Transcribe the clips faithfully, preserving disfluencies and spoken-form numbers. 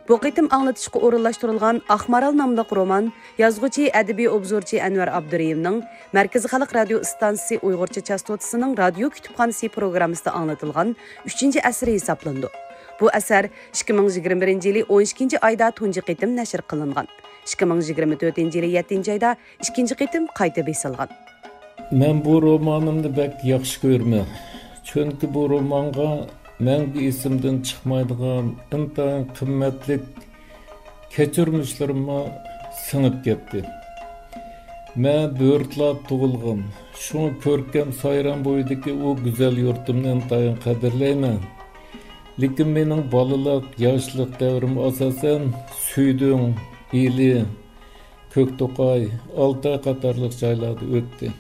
بۇ قېتىم ئاڭلىتىشقا ئورۇنلاشتۇرۇلغان ئاقمارال ناملىق رومان يازغۇچى، ئەدەبىي ئوبزورچى ئەنۋەر ئابدۇرېھىمنىڭ مەركىزىي خەلق رادىيو ئىستانسىسى ئۇيغۇرچە چاستوتىسىنىڭ رادىيو كۇتۇپخانىسى پروگراممىسىدا ئاڭلىتىلغان ئۈچىنچى ئەسىرى ھېسابلىنىدۇ. بۇ ئەسەر ئىككى مىڭ يىگىرمە بىرىنچى يىلى ئون ئىككىنچى ئايدا تۇنجى قېتىم نەشر قىلىنغان. ئىككى مىڭ يىگىرمە تۆتىنچى يىلى يەتتىنچى ئايدا ئىككىنچى قېتىم قايتا بېسىلغان. مەن بۇ رومانىمنى بەك ياخشى كۆرىمەن. چۈنكى بۇ رومانغا مەڭگۈ ئېسىمدىن چىقمايدىغان ئىنتايىن قىممەتلىك كەچۈرمىشلىرىممۇ سىڭىپ كەتتى. مەن بۆرتىلاردا تۇغۇلغان، شۇڭا كۆركەم سايرام بويىدىكى ئۇ گۈزەل يۇرتۇمنى ئىنتايىن قەدىرلەيمەن. لېكىن مېنىڭ بالىلىق، ياشلىق دەۋرىم ئاساسەن سۈيدۈڭ، ئىلى، كۆكتوقاي، ئالتاي قاتارلىق جايلاردا ئۆتتى.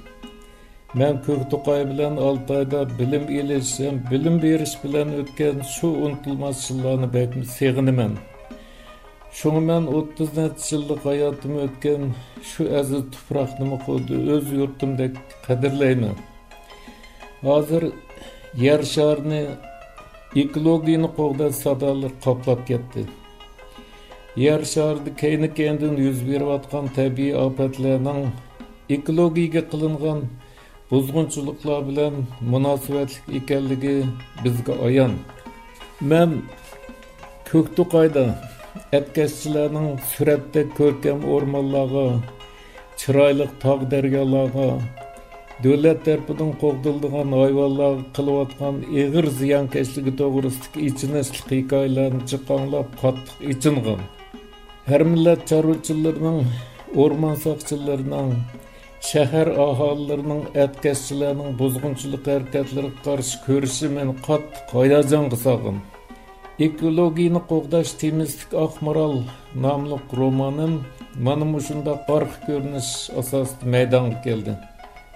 مەن كۆكتوقاي بىلەن ئالتايدا بىلىم ئېلىش ھەم بىلىم بېرىش بىلەن ئۆتكەن شۇ ئۇنتۇلماس يىللارنى بەكمۇ سېغىنىمەن. شۇڭا مەن ئوتتۇز نەچچە يىللىق ھاياتىم ئۆتكەن شۇ ئەزىز تۇپراقنىمۇ خۇددى ئۆز يۇرتۇمدەك قەدىرلەيمەن. ھازىر يەر شارىنى ئېكولوگىيەنى قوغداش سادالىرى قاپلاپ كەتتى. يەر شارىدا كەينى-كەينىدىن يۈز بېرىۋاتقان تەبىئىي ئاپەتلەرنىڭ ئېكولوگىيەگە قىلىنغان بۇزغۇنچىلىقلار بىلەن مۇناسىۋەتلىك ئىكەنلىكى بىزگە ئايان. مەن كۆكتوقايدا ئەتكەسچىلەرنىڭ سۈرەتتەك كۆركەم ئورمانلارغا، چىرايلىق تاغ-دەريالارغا، دۆلەت تەرىپىدىن قوغدىلىدىغان ھايۋانلارغا قىلىۋاتقان ئېغىر زىيانكەشلىكى توغرىسىدىكى ئېچىنىشلىق ھېكايىلەرنى جىق ئاڭلاپ قاتتىق ئېچىنغان. ھەر مىللەت چارۋىچىلىرىنىڭ، ئورمان ساقچىلىرىنىڭ، شەھەر ئاھالىلىرىنىڭ ئەتكەسچىلەرنىڭ بۇزغۇنچىلىق ھەرىكەتلىرىگە قارشى كۈرىشى مېنى قاتتىق ھاياجانغا سالغان. ئېكولوگىيەنى قوغداش تېمىسىدىكى ئاقمارال ناملىق رومانىم مانا مۇشۇنداق ئارقا كۆرۈنۈش ئاساسىدا مەيدانغا كەلدى.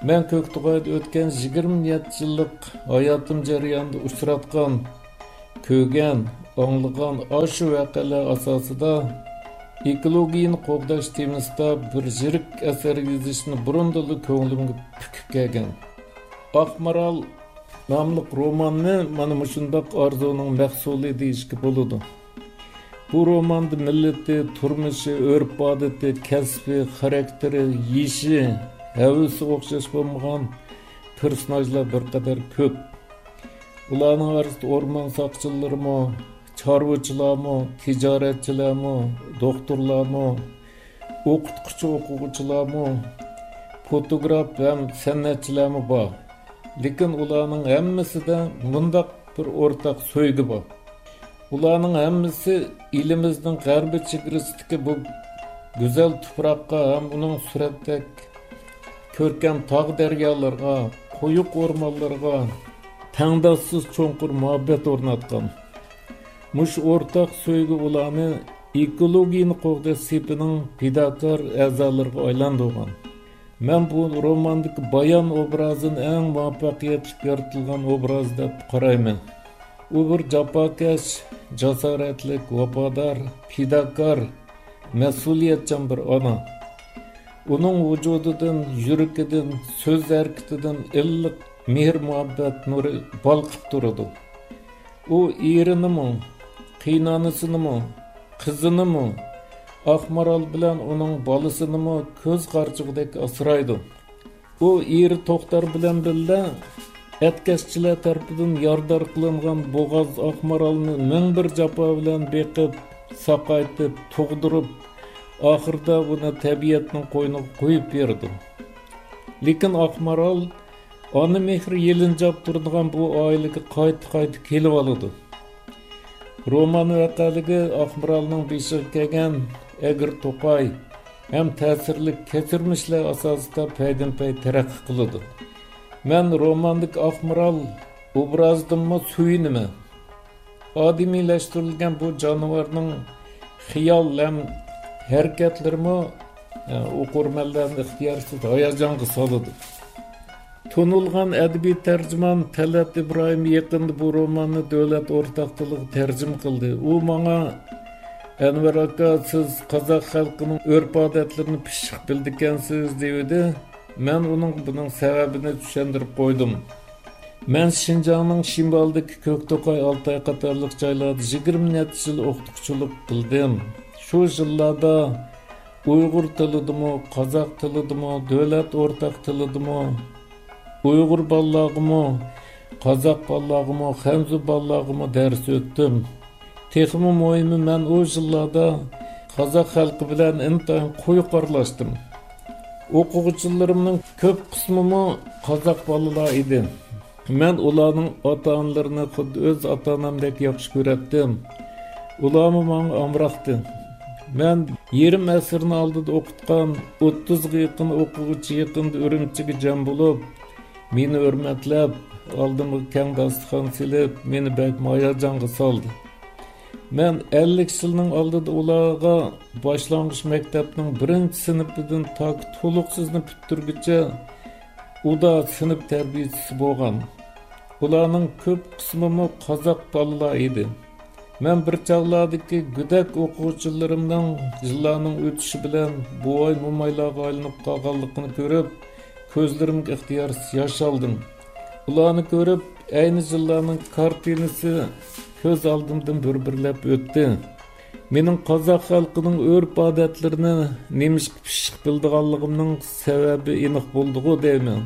مەن كۆكتوقايدا ئۆتكەن يىگىرمە يەتتە يىللىق ھاياتىم جەريانىدا ئۇچراتقان، كۆرگەن، ئاڭلىغان ئاشۇ ۋەقەلەر ئاساسىدا ئېكولوگىيەنى قوغداش تېمىسىدا بىر يىرىك ئەسەر يېزىشنى بۇرۇندىنلا كۆڭلۈمگە پۈكۈپ كەلگەن. ئاقمارال ناملىق روماننى مانا مۇشۇنداق ئارزۇنىڭ مەھسۇلى دېيىشكە بولىدۇ. بۇ روماندا مىللىتى، تۇرمۇشى، ئۆرپ-ئادىتى، كەسپى، خاراكتېرى، يېشى، ھەۋىسى ئوخشاش بولمىغان پېرسوناژلار بىر قەدەر كۆپ. ئۇلارنىڭ ئارىسىدا ئورمان ساقچىلىرىمۇ، چارۋىچىلارمۇ، تىجارەتچىلەرمۇ، دوختۇرلارمۇ، ئوقۇتقۇچى ئوقۇغۇچىلارمۇ، فوتوگراف ھەم سەنئەتچىلەرمۇ بار. لېكىن ئۇلارنىڭ ھەممىسىدە مۇنداق بىر ئورتاق سۆيگۈ بار. ئۇلارنىڭ ھەممىسى ئېلىمىزنىڭ غەربىي چېگرىسىدىكى بۇ گۈزەل تۇپراققا ھەم ئۇنىڭ سۈرەتتەك كۆركەم تاغ-دەريالىرىغا، قويۇق ئورمانلىرىغا تەڭداشسىز چوڭقۇر مۇھەببەت ئورناتقان. مۇشۇ ئورتاق سۆيگۈ ئۇلارنى ئېكولوگىيەنى قوغداش سېپىنىڭ پىداكار ئەزالىرىغا ئايلاندۇرغان. مەن بۇ روماندىكى بايان ئوبرازىنى ئەڭ مۇۋەپپەقىيەتلىك يارىتىلغان ئوبراز دەپ قارايمەن. ئۇ بىر جاپاكەش، جاسارەتلىك، ۋاپادار، پىداكار، مەسئۇلىيەتچان بىر ئانا. ئۇنىڭ ۋۇجۇدىدىن، يۈرىكىدىن، سۆز ھەرىكىتىدىن ئىللىق مېھىر-مۇھەببەت نۇرى بالقىپ تۇرىدۇ. ئۇ ئېرىنىمۇ، قېيىنئانىسىنىمۇ، قىزىنىمۇ، ئاقمارال بىلەن ئۇنىڭ بالىسىنىمۇ كۆز قارىچۇقىدەك ئاسرايدۇ. ئۇ ئېرى توختار بىلەن بىللە ئەتكەسچىلەر تەرىپىدىن يارىدار قىلىنغان بوغاز ئاقمارالنى مىڭ بىر جاپا بىلەن بېقىپ، ساقايتىپ، تۇغدۇرۇپ، ئاخىرىدا ئۇنى تەبىئەتنىڭ قوينىغا قويۇپ بېرىدۇ. لېكىن ئاقمارال ئانا مېھرى يېلىنجاپ تۇرىدىغان بۇ ئائىلىگە قايتا-قايتا كېلىۋالىدۇ. رومان ۋەقەلىكى ئاقمارالنىڭ بېشىغا كەلگەن ئەگرى توقاي ھەم تەسىرلىك كەچۈرمىشلەر ئاساسىدا پەيدىنپەي تەرەققىي قىلىدۇ. مەن روماندىكى ئاقمارال ئوبرازىدىنمۇ سۆيۈنىمەن. ئادىمىيلەشتۈرۈلگەن بۇ جانىۋارنىڭ خىيال ھەم ھەرىكەتلىرىمۇ، ئە، ئوقۇرمەنلەرنى ئىختىيارسىز ھاياجانغا سالىدۇ. تونۇلغان ئەدەبىي تەرجىمان تەلئەت ئىبراھىم يېقىندا بۇ روماننى دۆلەت ئورتاق تىلىغا تەرجىمە قىلدى. ئۇ ماڭا، «ئەنۋەر ئاكا، سىز قازاق خەلقىنىڭ ئۆرپ-ئادەتلىرىنى پىششىق بىلىدىكەنسىز» دېۋىدى. مەن ئۇنىڭغا بۇنىڭ سەۋەبىنى چۈشەندۈرۈپ قويدۇم. مەن شىنجاڭنىڭ شىمالىدىكى كۆكتوقاي، ئالتاي قاتارلىق جايلاردا يىگىرمە نەچچە يىل ئوقۇتقۇچىلىق قىلدىم. شۇ يىللاردا ئۇيغۇر تىلىدىمۇ، قازاق تىلىدىمۇ، دۆلەت ئورتاق تىلىدىمۇ، ئۇيغۇر بالىلارغىمۇ، قازاق بالىلارغىمۇ، خەنزۇ بالىلارغىمۇ دەرس ئۆتتۈم. تېخىمۇ مۇھىمى، مەن ئۇ يىللاردا قازاق خەلقى بىلەن ئىنتايىن قويۇق ئارىلاشتىم. ئوقۇغۇچىلىرىمنىڭ كۆپ قىسمىمۇ قازاق بالىلار ئىدى. مەن ئۇلارنىڭ ئاتا-ئانىلىرىنى خۇددى ئۆز ئاتا-ئانامدەك ياخشى كۆرەتتىم. ئۇلارمۇ ماڭا ئامراقتى. مەن يېرىم ئەسىرنىڭ ئالدىدا ئوقۇتقان ئوتتۇزغا يېقىن ئوقۇغۇچى يېقىندا ئۈرۈمچىگە جەم بولۇپ، مېنى ھۆرمەتلەپ، ئالدىمغا كەڭ داستىخان سېلىپ، مېنى بەكمۇ ھاياجانغا سالدى. مەن ئەللىك يىلنىڭ ئالدىدا ئۇلارغا باشلانغۇچ مەكتەپنىڭ بىرىنچى سىنىپىدىن تاكى تولۇقسىزنى پۈتتۈرگۈچە ئۇدا سىنىپ تەربىيىچىسى بولغان. ئۇلارنىڭ كۆپ قىسمىمۇ قازاق بالىلار ئىدى. مەن بىر چاغلاردىكى گۆدەك ئوقۇغۇچىلىرىمنىڭ يىللارنىڭ ئۆتۈشى بىلەن بوۋاي-مومايلارغا ئايلىنىپ قالغانلىقىنى كۆرۈپ، كۆزلىرىمگە ئىختىيارسىز ياش ئالدىم. ئۇلارنى كۆرۈپ، ئەينى يىللارنىڭ كارتىنىسى كۆز ئالدىمدىن بىر-بىرلەپ ئۆتتى. مېنىڭ قازاق خەلقىنىڭ ئۆرپ-ئادەتلىرىنى نېمىشقا پىششىق بىلىدىغانلىقىمنىڭ سەۋەبى ئېنىق بولدىغۇ دەيمەن.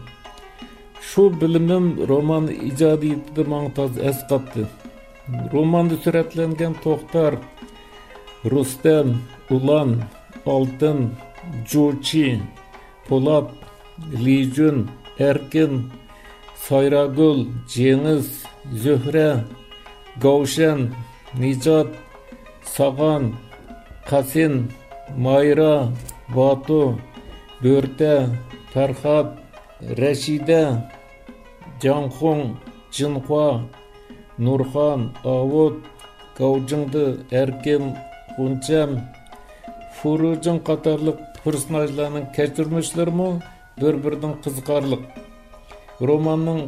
شۇ بىلىمىم رومان ئىجادىيىتىدە ماڭا تازا ئەسقاتتى. روماندا سۈرەتلەنگەن توختار، رۇستەم، ئۇلان، ئالتىن، جۇچى، پولات، لىجۈن، ئەركىن، سايراگۈل، جېڭىز، زۆھرە، گاۋشەن، نىجات، ساغان، قاسىن، مايرا، باتۇ، بۆرتە، پەرھات، رەشىدە، جاڭخۇڭ، جىنخۇا، نۇرخان، ئاۋۇت، گاۋجىڭدى، ئەركىن، غۇنچەم، فۇرۇجىڭ قاتارلىق پېرسوناژلارنىڭ كەچۈرمىشلىرىمۇ بىر-بىرىدىن قىزىقارلىق. روماننىڭ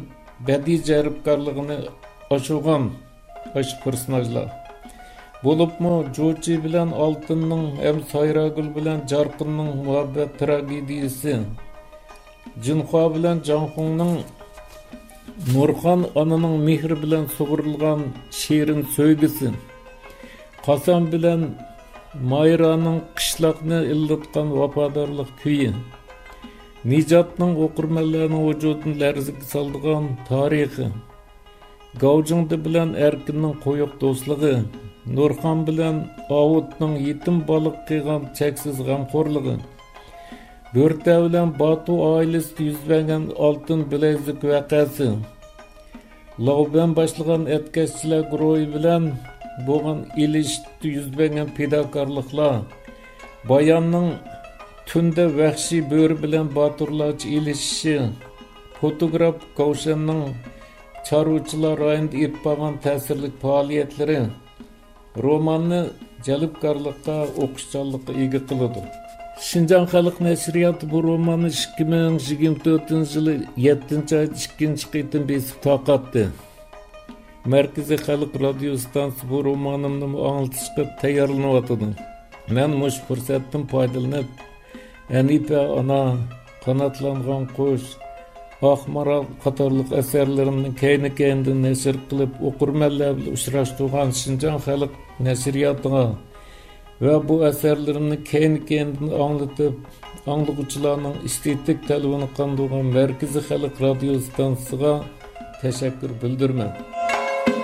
بەدىئىي جەلپكارلىقىنى ئاشۇرغان ئاشۇ پېرسوناژلار. بولۇپمۇ جۇچى بىلەن ئالتىننىڭ ھەم سايراگۈل بىلەن جارقىننىڭ مۇھەببەت تراگېدىيىسى، جىنخۇا بىلەن جاڭخۇڭنىڭ نۇرخان ئانىنىڭ مېھرى بىلەن سۇغۇرۇلغان شېرىن سۆيگۈسى، قاسان بىلەن مايرانىڭ قىشلاقنى ئىللىتقان ۋاپادارلىق كۈيى، نىجاتنىڭ ئوقۇرمەنلەرنىڭ ۋۇجۇدىنى لەرزىگە سالىدىغان تارىخى، گاۋجىڭدى بىلەن ئەركىننىڭ قويۇق دوستلۇقى، نۇرخان بىلەن ئاۋۇتنىڭ يېتىم بالىغا قىلغان چەكسىز غەمخورلۇقى، بۆرتە بىلەن باتۇ ئائىلىسىدە يۈز بەرگەن ئالتۇن بىلەيزۈك ۋەقەسى، لاۋبەن باشلىغان ئەتكەسچىلەر گۇرۇھى بىلەن بولغان ئېلىشىشتا يۈز بەرگەن پىداكارلىقلار، باياننىڭ تۈندە ۋەھشىي بۆرە بىلەن باتۇرلارچە ئېلىشىشى، فوتوگراف گاۋشەننىڭ چارۋىچىلار رايونىدا ئېلىپ بارغان تەسىرلىك پائالىيەتلىرى روماننى جەلپكارلىققا، ئوقۇشچانلىققا ئىگە قىلىدۇ. شىنجاڭ خەلق نەشرىياتى بۇ روماننى ئىككى مىڭ يىگىرمە تۆتىنچى يىلى يەتتىنچى ئايدا ئىككىنچى قېتىم بېسىپ تارقاتتى. مەركىزىي خەلق رادىيو ئىستانسىسى بۇ رومانىمنىمۇ ئاڭلىتىشقا تەييارلىنىۋاتىدۇ. مەن مۇشۇ پۇرسەتتىن پايدىلىنىپ، ھەنىپە ئانا، قاناتلانغان قۇش، ئاق مارال قاتارلىق ئەسەرلىرىمنى كەينى-كەينىدىن نەشر قىلىپ، ئوقۇرمەنلەر بىلەن ئۇچراشتۇرغان شىنجاڭ خەلق نەشرىياتىغا ۋە بۇ ئەسەرلىرىمنى كەينى-كەينىدىن ئاڭلىتىپ، ئاڭلىغۇچىلارنىڭ ئېستېتىك تەلىپىنى قاندۇرغان مەركىزىي خەلق رادىيو ئىستانسىسىغا تەشەككۈر بىلدۈرىمەن.